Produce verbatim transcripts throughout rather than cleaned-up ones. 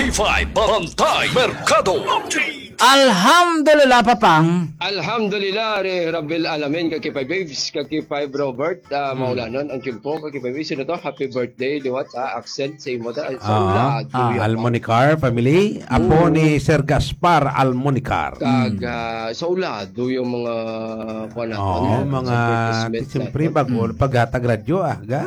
K five Bantay Merkado Update. Alhamdulillah, Papang. Alhamdulillah, Re Rabbil Alamin, ka K five Babes, ka K five Robert, ah, Hmm. maulanon ang tiyempo, ka K five Babes. Sino to? Happy birthday, liwat, ah, Axel, sa imo ta, sa Ah, ula, ah, Julia. Almonicar family, apo Oo. ni Sir Gaspar Almonicar. Kag, Hmm. ah, sa ulado yung mga, kuwan naton, Oo, yan, mga, sa advertisement siyempre, naton. bago, Hmm. paghatag radyo, ah, ga,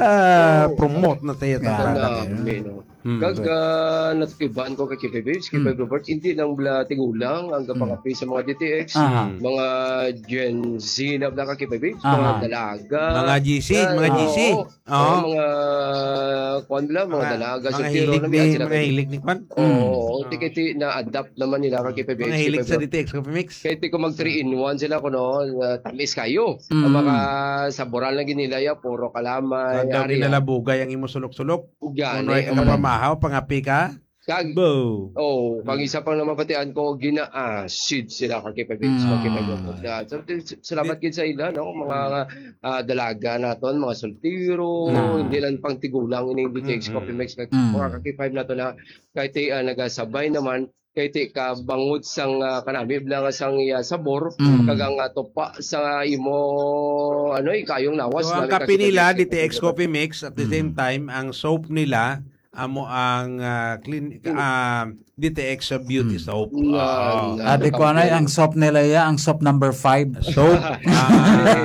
Oo. promote na sa iya sa Kaya, radyo. Nami, no? Hmm. Kag, ah, natikiban ko kay K five Babes, K five Hmm. Robert, hindi lang bala tigulang ang Hmm. kapangapi sa mga D T X, Aha. mga Gen Z na bala ka K five Babes, Aha. mga dalaga. Mga G C, Yan, mga G C. Oo. Oo. Oo, mga, kuwan bala, mga Mga, dalaga, mga soltero hilig na ni, biya sila mga kay hilig ni kuwan. Oo, Hmm. tikiti na-adapt naman nila ka K five Babes, Mga hilig K five sa Robert. D T X Coffee Mix. Kay ti ko mag three in one sila kuno, ah, tamis kayo. Ang Mm. mga saboran lang ginilaya, puro kalamay, Ang daw ari, ah. ginalabugay ang imo sulok-sulok. Gani, Kung may ang kapamahaw, pangapi ka. Kag, Bo. oh, kag Mm. isa pang namabatian ko, gina-acid sila ka K five Babes, Mm. ka K five Babes. Ah, so, salamat gid sa ila, no? Mga, Mm. ah, dalaga naton, mga soltero, Mm. hindi lang pang tigulang ining D T X Mm-mm. Coffee Mix, kag Mm. mga ka K five nato na, kay ti, ah, nagasabay naman, kay ti ka bangod sang, ah, kanami lang sang iya sabor, Mm. kag ang, ah, tupa sa imo, ano, ikayong lawas So, ang na kape nila, kasipag-, D T X Coffee Mix, at the Mm. same time, ang soap nila, amo ang, ah, clean, Mm. ah, D T X Beauty Mm. Soap. Yan, Ah. yan. Ate ko, anay, ang soap nila, ya, ang soap number five. Soap, ah,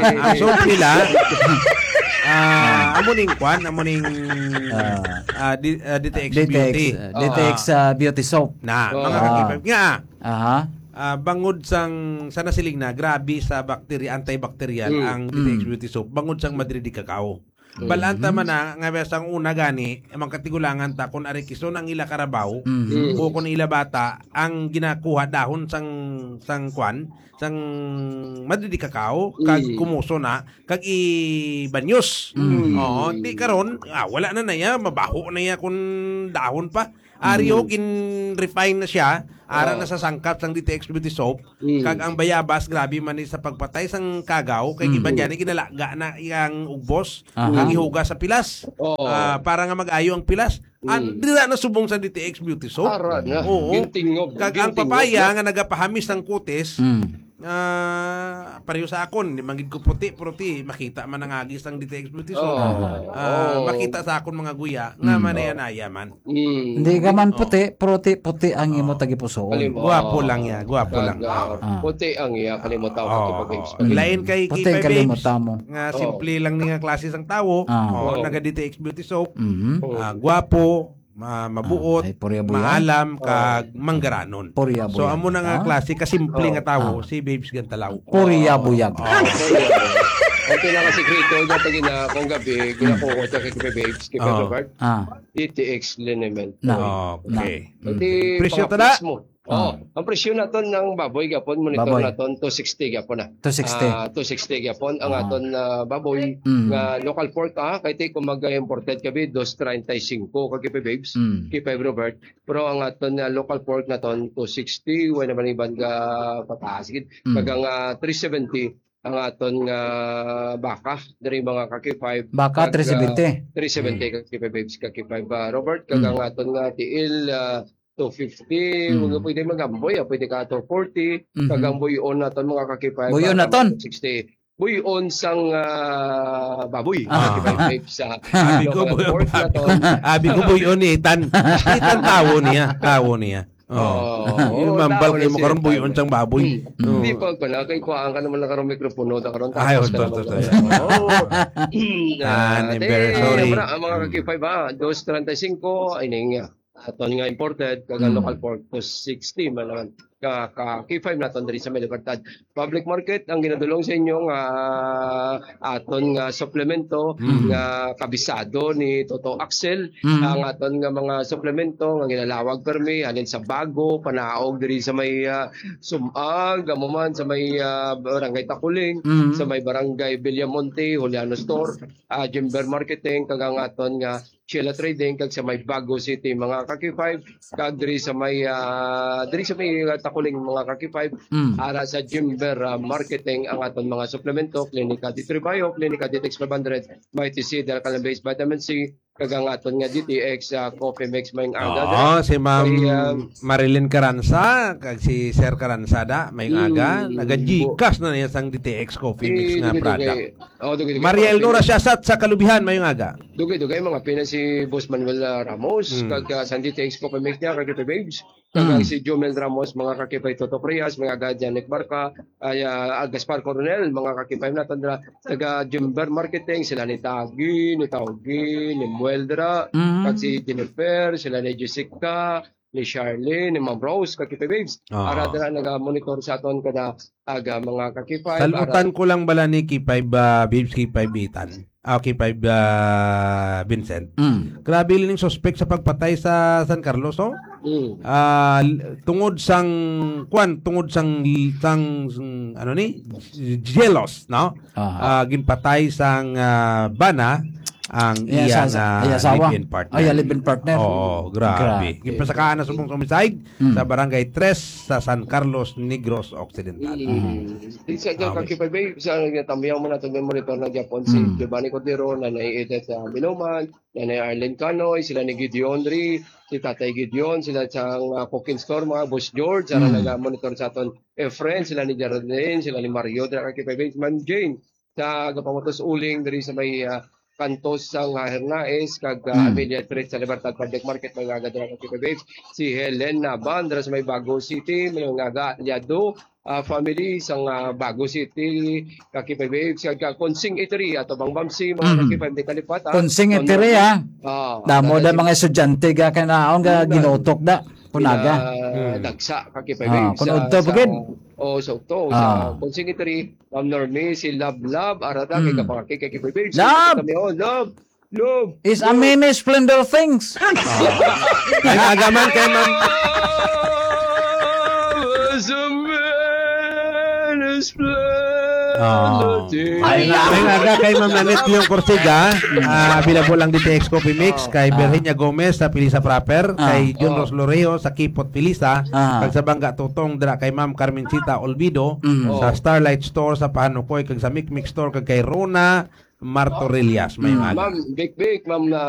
ang soap nila, ah, amo ning kwan, amo ning, Ah. ah, di-, ah, D T X D T X, Beauty. ah, D T X, Ah. ah, Beauty Soap. Na, Oh. mga Ah. kakipag nga, Aha. ah, bangod sang, sa nasiling na, grabe sa bacteria, antibacterial Mm. ang D T X Mm. Beauty Soap, bangod sang madre de cacao. Mm. Balanta man na, nga sang una gani, ang mga katigulangan ta, kung ari kison ang ila karabaw, Mm. o kung ila bata, ang ginakuha dahon sang, sang kwan, sang madre de cacao, kag Mm. kumuso na, kag ibanyos. Mm. Oo, di karon, ah, wala na na iya, mabaho na iya kung dahon pa. Ari, Mm. oh, gin-refine na siya, ara Oh. na sa sangkap sang D T X Beauty Soap, Mm. kag ang bayabas, grabe man ni sa pagpatay sang kagaw, kay Mm. iban gani ginalaga na iyang ugbos, Aha. ang ihugas sa pilas. Oo. Ah, para nga mag-ayo ang pilas. An-, Mm. dira na subong sa D T X Beauty Soap. Ara na. Oo. Gintingob. Kag ang Gintingob papaya na. nga nagapahamis sang kutis, Mm. ah, pareho sa akon, di man gid ko puti, pero ti, makita man ang agis sang D T X Beauty Soap. Oo. Ah, Oo. makita sa akon mga guya, nga Mm. manaya-naya man. Mm. Hindi ka man Oo. puti, pero ti, puti ang imo Oo. tagipusoon. Kalimot. Guwapo lang ya, guwapo lang. Kag, ah, Ah. puti ang iya, kalimot ako Oo, kapag oo. Mm. Lain kay Puti ang K five Babes, kalimot mo. nga Oo. simple lang ni nga klase sang tawo, Ah. oo, Oo. naga D T X Beauty Soap, Mhm. Oo. ah, guwapo, ma-, mabuot, Ah, ay, purya buya. maalam, Oo. kag manggaranon. Purya So, buya. amo na nga Ah? klase ka simple Oo. nga tawo, Ah. si Babes Gantalaw. Purya Oo. buyag. Oo. Okay lang ang sikreto, nga pag ina-, kung gabi, Hmm. ginakuha siya kay Babes, kay Oo. Robert. Ah. D T X liniment. Na. Okay. Na. Hindi Presyo pang-, tada? Mismo. Ah. Oh, ang presyo naton ng baboy gapon, monitor Baboy. naton, two sixty gapon na. Two sixty. Ah, two sixty gapon ang Ah. aton, ah, baboy Mm. nga local pork, ah, kay ti kung mag-imported kami, dos treinta y cinco ka K five Babes, Mm. K five Robert. Pero ang aton nga local pork naton, two sixty, wala naman iban nga pataas gid. Mm. Kag ang, ah, three seventy ang aton nga baka, diri mga ka K five. Baka, Kag, ah, three seventy. three seventy Mm. ka K five Babes, ka K five, ah, Robert, kag Mm. ang aton nga tiil, ah, two fifty, Mm. mga pwede mag-amboy, ah, pwede ka two forty, Mhm. kag ang buyon naton mga ka K five, Buyon ah, naton? two sixty. Buyon sang, ah, baboy. Ah. Ka K five sa Abi ko, local buy-, pork abi ko, naton. abi ko, buyon ni Ethan. Ethan, tawo niya, tawo niya. Oh. Oh, Yung mambal tawo kayo mo niya, karon, tawo. buyon sang baboy. Hmm. Oh. Hindi pa pala, kay kuhaan ka naman na karon mikropono, ta karon Ay, tapos ka oto, naman oto, karon. oto. Oh. Ah, Ah, very te, sorry. Mara, ang mga ka K five, ah, dos treinta y cinco, ay, ning, ah, aton nga imported, kag ang Mm. local pork, two sixty man naman. Ka, ka K five naton diri sa may Libertad Public Market, ang ginadulong sa inyo nga aton nga suplemento Mm. nga kabisado ni Toto Axel, Mm. ang aton nga mga suplemento nga ginalawag permi, halin sa Bago, Panaog, diri sa may, ah, Sumag, amo man sa may, ah, Barangay Takuling, Mm. sa may Barangay Villamonte, Juliano Store, ah, Jimber Marketing, kag ang aton nga Sheila Trading, kag sa may Bago City, mga ka K five, kag diri sa may, ah, diri sa may, ah, Takuling, mga ka K five, Mm. ara sa Jimber, ah, Marketing ang aton mga suplemento, Klinika D three Bio, Klinika D T X five hundred, Mighty C, Delcalan Base Vitamin C, kag ang aton nga D T X, ah, Coffee Mix, maayong aga, Oo, dra. si Ma'am Kay, ah, Marilyn Caranza, kag si Sir Caranza da, maayong aga. Mm, Naga-Gcash na niya sang D T X Coffee Mix Eh, nga dugay-dugay. product. Oh, dugay-dugay. Maria Mga Elnora pina- Siasat sa Kalubihan, maayong aga. Dugay-dugay, mga pina si Boss Manuel, ah, Ramos, Mm. kag, ah, sang D T X Coffee Mix niya, kag Coffee Babes. Kag, ah, Mm. si Jomel Ramos, mga kakipay Toto Frias, mga aga Janet Barca, ay, ah, ah, Gaspar Coronel, mga kakipay naton dira, taga Jimber Marketing, sila ni Tagi, ni Taugi, ni Mueldra, Mm. kag si Jennifer, sila ni Jessica, ni Charlene, ni Ma'am Rose, kakipay Babes. Ah. Ara dira naga-monitor sa aton kada aga, mga kakipay. Salutan Ara- ko lang bala ni K five, ah, Babes, K five Ethan. Ah, K five, ah, Vincent. Mm. Grabe lang yung suspect sa pagpatay sa San Carlos, oh. Mm. Ah, l-, tungod sang, kwan, tungod sang, sang, sang, ano ni? Jealous, no? Aha. Ah, ginpatay sang, ah, bana ang Iya, iya sa, sa, nga iya, asawa. live-in partner. Ay, iya, live-in partner. Oo, grabe. Grabe. Ginpasakaan na subong sa homicide Mm. sa Barangay Tres sa San Carlos, Negros Occidental. Mm. Mm. Di sa Ah, okay. kakipay, sa nga tamyaw mo nato, may monitor na Japon, si Mm. Giovanni Cordero, Nanay Edith, ah, Biloman, Nanay Arlene Canoy, sila ni Gideon Ri, si Tatay Gideon, sila sa, ah, cooking store, mga Boss George, sila Mm. naga-monitor sa aton, eh, friends, sila ni Geraldine, sila ni Mario, dira kakipay, Ma'am Jane, sa Gapangutos Uling, diri sa may, ah, kantos sang, ah, Hernaez, kag, ah, Mm. Amelia Street sa Libertad Public Market, mga aga dira kakipay, si Helen Naban, dira sa may Bago City, mga aga, Aliado, ah, family sang, ah, Bago City, kakipay Babes, kag, ah, Consing Eatery, ato bang Bamsi, mga Mm. kakipay, di kalipat, ah. Consing Ano, Eatery, ah. ah, Damo da taga mga estudyante ga kanaon ga Ano, ginutok da. Kunaga. pina-, Mm. dagsa, kakipay Ah, Babes, kung sa, udto, sa, bukid. oh, sa udto, sa Ah. Consing Eatery, Ma'am Normie, si Love Love, arata, kay Mm. kapangakay, kakipay Babes, Love! kami, oh, Love, Love, It's a Love. many splendor things. Ay, aga man kay Ma'am. It's a many splendor Oh. things. Ay, ay, aga kay Ma'am Nanette Leon Corsiga. Ah, available ang D T X Coffee Mix, Oh. kay Ah. Virginia Gomez sa Pilisa Proper, Ah. kay Jun Oh. Ros Loreho sa Kipot Pilisa, Ah. kag sa Bangga Tutong dira kay Ma'am Carmencita Olvido, Mm. sa Oh. Starlight Store sa Pahanukoy, kag sa Mikmik Store, kag kay Rona Martorellas. May Mm. aga. Ma'am, Big Big, Ma'am, ah,